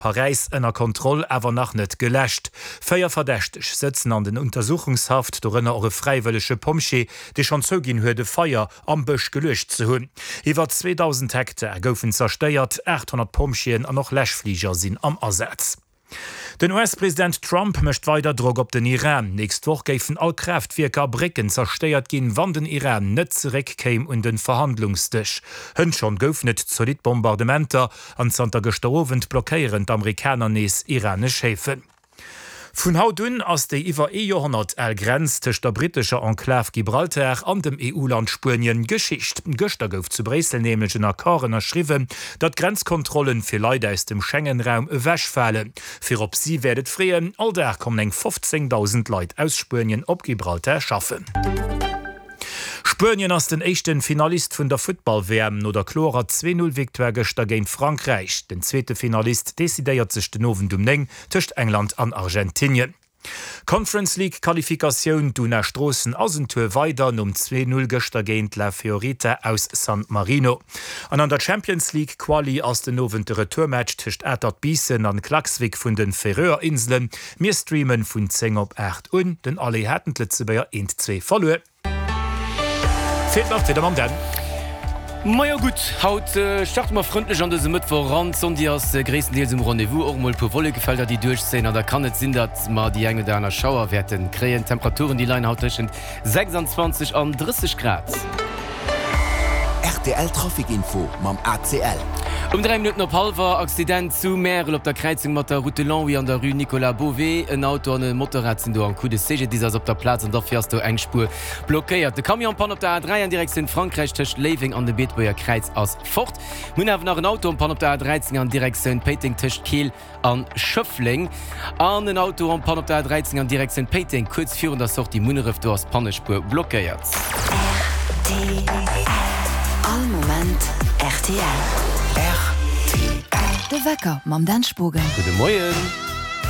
Paräis ënner Kontroll, awer nach net geläscht. 4 Verdächteg sëtzen an den Untersuchungshaft, dorënner och e fräiwëllege Pompjee, dee schonn zouginn huet, e Feier am Bësch geluecht ze hunn. Iwwer 2.000 Hektar goufen zerstéiert, 800 Pompjeeën an och Läschfliger sinn am Asaz. Den US-President Trump mécht weider Drock op den Iran. Nächst Woch géifen all Kraaftwierker a Brécken zerstéiert ginn, wann den Iran net zeréck kéim un de Verhandlungsdësch. Hënt schonn goufen et zolidd Bombardementer An zanter gëschter Owend blockéieren d'Amerikaner nees iranesch Häfen. Vun haut un ass déi iwwer ee Joerhonnert al Grenz tëscht der brittescher Enklav Gibraltar an dem EU-Land Spuenien Geschicht. Gëschter gouf zu Bréissel nämlech en Accord ënnerschriwwen, datt d'Grenzkontrollen fir Leit aus dem Schengen-Raum ewechfalen. Fir op si wäert et freeën, all Dag kommen eng 15.000 Leit aus Spuenien op Gibraltar schaffen. Spuenien ass den éischten Finalist vun der Futtball-WM no der klorer 2 Null Victoire gëschter géint Frankräich. Den zweete Finalist decidéiert sech den Owend um 9 tëscht England an Argentinien. Conference League Qualifikatioun, D'Una Stroossen ass en Tour weider nom 2 Null gëschter géint La Fiorita aus San Marino. An an der Champions League Quali ass den Owend de Retourmatch tëscht Atert Biissen an Klaksvik vun den Färöer Inselen. Mir streamen vun 10 op 8 un. Den Aller haten d'Lëtzebuerger 1, 2 verluer. Feelt nach d'Wieder mam Dan. Majo gutt, haut starte mer frëndlech an dëse Mëttwoch eran. D'Sonn déi ass gréisstendeels um Rendez-vous, och mol e puer Wollekefelder déi duerchzéien an da kann et sinn, datt mer déi eng oder aner Schauer wäerte kréien. D'Temperaturen déi leien haut tëschent 26 an 30 Grad. Rtl Trafic Info mam ACL. Um 3 Minutten op hallwer, Accident zu Märel op der Kräizung mat der Route de Longwy an der Rue Nicolas Beauvais. En Auto an e Motorrad sinn do en Coup. De CGDIS ass op der Plaz an derfir ass do eng Spuer blockéiert. De Camion en panne op der A3 an Direktioun Frankräich tëscht Léiweng an dem Beetebuerger Kräiz ass fort. Mir hunn awer nach en Auto en panne op der A13 an Direktioun Péiteng tëscht Keel An Schëffleng an en Auto en panne op der A13 an Direktioun Péiteng, kuerz virun der Sortie Munneref, do ass d'Pannespuer blockéiert. Rtl, All Moment rtl. Rtl. De Wecker mam Dan Spogen. Gudde Moien.